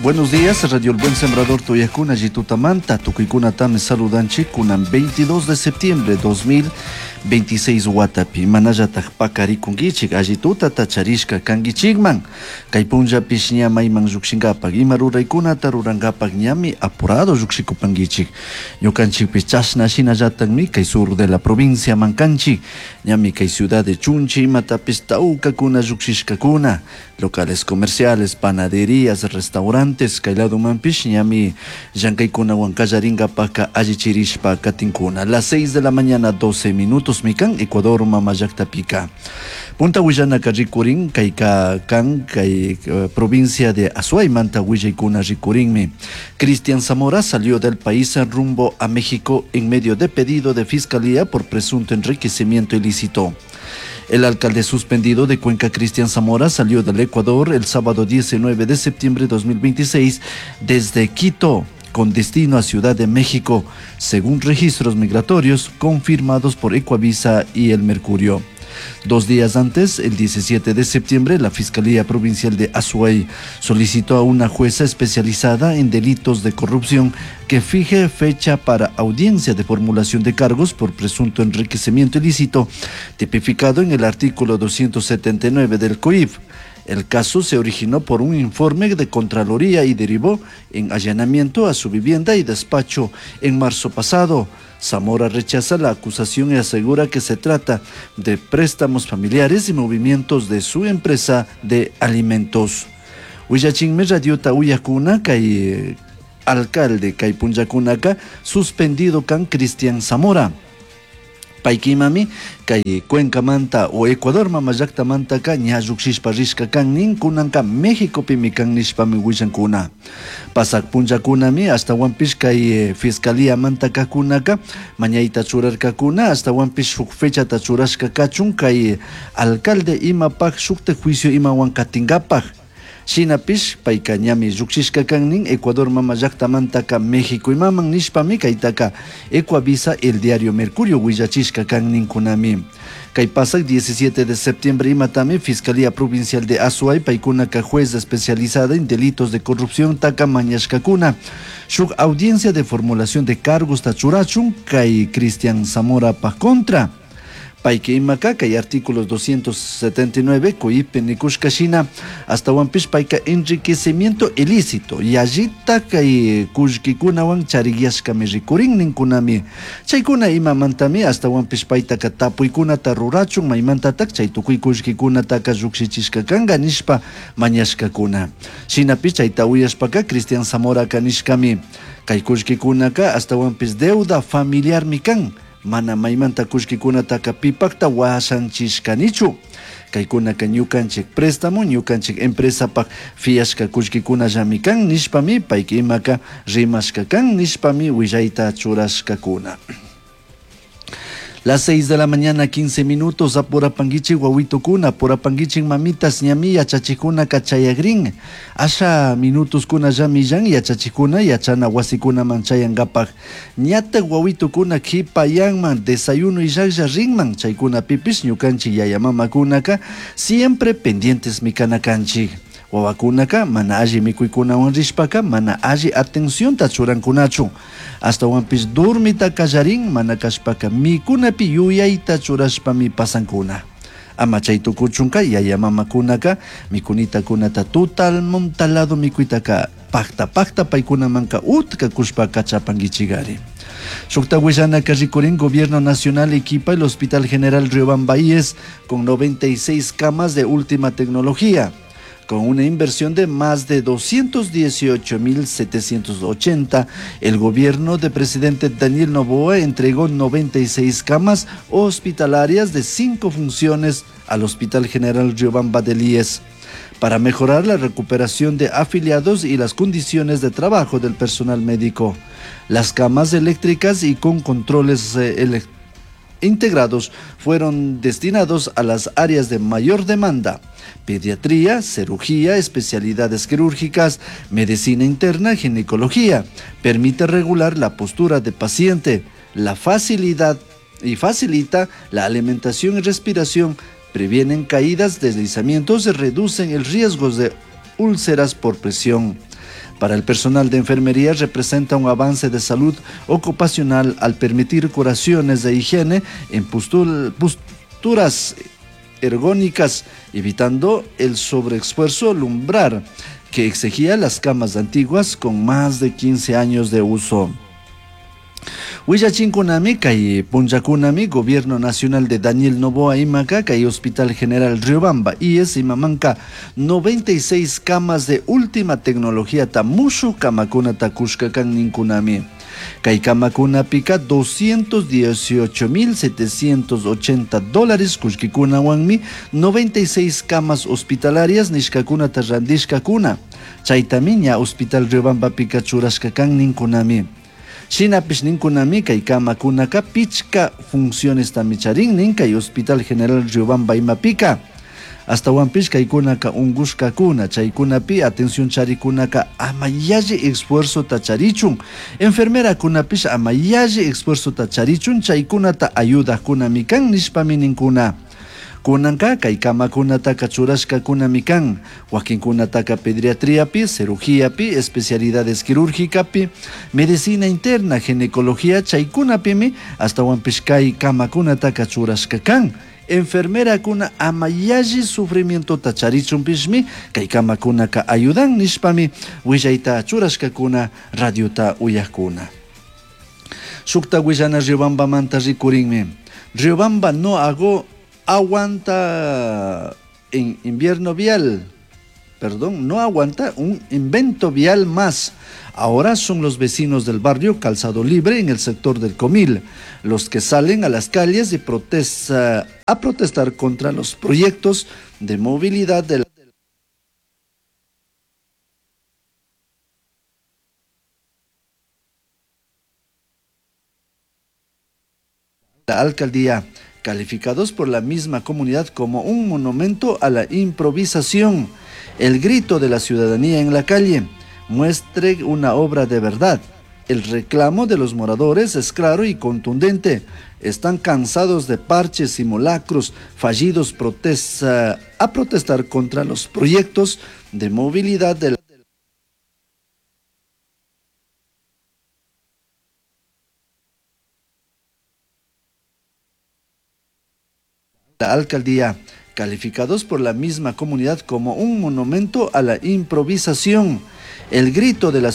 Buenos días, Radio El Buen Sembrador Tuyacuna, Jitutamanta, Tucuicunatami saludanchik, kunan 22 de septiembre 2026 watapi, manallatak pakarikunkichik, allitutata charishka kankichikman, kay punllapish ña mayman llukshinkapak, ima ruraykunata rurankapak ñami apurado llukshikupankichik, ñukanchikpish chashna shinallatakmi kay sur de la provincia mankanchik, ñami kay ciudad de Chunchi imatapish tawkakuna llukshishkakuna, locales comerciales, panaderías, restaurantes, kay ladomanpish ñami llankaykunawan kallarinkapaka allichirishpa katinkuna. Las 6 de la mañana 12 minutos mikan Ecuador mama llaktapika. Punta willanaka rikurin kayka kan kay provincia de Azuaymanta willaykuna rikurinmi. Cristian Zamora salió del país rumbo a México en medio de pedido de fiscalía por presunto enriquecimiento ilícito. El alcalde suspendido de Cuenca, Cristian Zamora, salió del Ecuador el sábado 19 de septiembre de 2026 desde Quito con destino a Ciudad de México, según registros migratorios confirmados por Ecuavisa y El Mercurio. 2 días antes, el 17 de septiembre, la Fiscalía Provincial de Azuay solicitó a una jueza especializada en delitos de corrupción que fije fecha para audiencia de formulación de cargos por presunto enriquecimiento ilícito, tipificado en el artículo 279 del COIF. El caso se originó por un informe de Contraloría y derivó en allanamiento a su vivienda y despacho en marzo pasado. Zamora rechaza la acusación y asegura que se trata de préstamos familiares y movimientos de su empresa de alimentos. Willachinmi radiota uyakuna kay alcalde kay punllakunaka suspendido kan Cristian Zamora. Paykimami kay Cuencamanta o Ecuador mama llaktamantaka ña llukshishpa rishka kan nin kunanka Mexicopimi kan nishpami willankuna. Pasak punllakunami ashtawanpish kay fiscalía mantakakunaka mañayta churarkakuna ashtawanpish shuk fechata churashka kachun kay alcalde imapak shukta juicio imawan katinkapak. Shinapish payka ñami llukshishka kan nin Ecuador mama llaktamantaka México imaman nishpami kaytaka Ecuavisa el diario Mercurio willachishka kan ninkunami. Kay pasak 17 de septiembre imatami Fiscalía Provincial de Azuay paykunaka juez especializada en delitos de corrupción taka mañashkakuna. Shuk audiencia de formulación de cargos tachurachun kay Cristian Zamora pa contra. Payka imaka kay artículos 279 COIP nikushka shina ashtawanpish payka enriquecimiento ilícito yallita kay kullkikunawan chariyashkami rikurin ninkunami. Chaykuna imamantami ashtawanpish paytaka tapuykunata rurachun maymantatak chay tukuy kullkikunataka llukshichishka kanka nishpa mañashkakuna. Shinapish chayta uyashpaka Cristian Zamoraka nishkami kay kullkikunaka ashtawanpish deuda familiarmi kan. Mana maymanta kullkikunataka pipakta washanchishkanichu. Kaykunaka ñukanchik préstamo, ñukanchik empresapak fiashka kullkikunallami kan nishpami payka imaka rimashka kan nishpami willayta churashkakuna. Las 6 de la mañana, 15 minutos, apurapanguichi wawitokuna, apurapanguichi mamitas ñami yachachikuna kachayagrin. Asha minutos kuna yamillan yachachikuna yachana wasikuna manchayangapak. Ñata wawitokuna kipayanman desayuno y llaglla rinman chaykuna pipis ñukanchi yayamamakunaka siempre pendientes mikanakanchik. Wawakunaka mana alli mikuykunawan rishpaka mana alli atencionta churankunachu. Ashtawanpish dormita kallarin mana kashpaka mikunapi yuyayta churashpami pasankuna. Ama chay tukuchunka yaya mamakunaka mikunitakunata tutal montalado mikuytaka pakta pakta paykunamanka utka kushpa kachapankichigari. Shukta willanaka rikurin Gobierno Nacional equipa el Hospital General Riobamba IES con 96 camas de última tecnología, con una inversión de más de 218.780, el gobierno de presidente Daniel Noboa entregó 96 camas hospitalarias de 5 funciones al Hospital General Riobamba del IES para mejorar la recuperación de afiliados y las condiciones de trabajo del personal médico. Las camas eléctricas y con controles integrados fueron destinados a las áreas de mayor demanda: pediatría, cirugía, especialidades quirúrgicas, medicina interna, ginecología. Permite regular la postura de paciente, la facilidad y facilita la alimentación y respiración, previenen caídas, deslizamientos y reducen el riesgo de úlceras por presión. Para el personal de enfermería representa un avance de salud ocupacional al permitir curaciones de higiene en posturas ergónicas, evitando el sobreesfuerzo lumbrar que exigía las camas antiguas con más de 15 años de uso. Willachinkunami kay punllakunami Gobierno Nacional de Daniel Noboa imaka kay Hospital General Riobamba IES imamanka 96 camas de última tecnología ta mushu kamakunata kushka kan ninkunami. Kay kamakunapika 218.780 dólares kullkikunawanmi 96 camas hospitalarias nishkakunata randishkakuna. Chaytami ña Hospital Riobambapika churashka kan ninkunami. Shinapish ninkunami kay kamakunaka pichka funciones charin nin kay Hospital General Riobamba imapika. Astawanpish kaykunaka unkushkakuna chaykunapi atención charikunaka ama yalli esfuerzota charichun enfermerakunapish ama yalli esfuerzota charichun chaykunata ayudajkunami kan nishpami ninkuna. Kunanka kay kamakunataka churashkakunami kan wakinkunataka pediatriapi, cirugíapi, especialidades quirúrgicapi, medicina interna, ginecología chaykunapimi astawanpish kay kamakunataka churashka kan. Enfermerakuna ama yalli sufrimientota charichunpishmi kay kamakunaka ayudan nishpami willayta churashkakuna radiota uyakuna. Shukta willana Riobambamanta rikurinmi. Riobamba no hago aguanta en invierno vial, perdón, no aguanta un invento vial más. Ahora son los vecinos del barrio Calzado Libre en el sector del Comil los que salen a las calles y a protestar contra los proyectos de movilidad de la alcaldía, calificados por la misma comunidad como un monumento a la improvisación. El grito de la ciudadanía en la calle muestre una obra de verdad. El reclamo de los moradores es claro y contundente. Están cansados de parches, simulacros, fallidos a protestar contra los proyectos de movilidad de la alcaldía, calificados por la misma comunidad como un monumento a la improvisación. El grito de la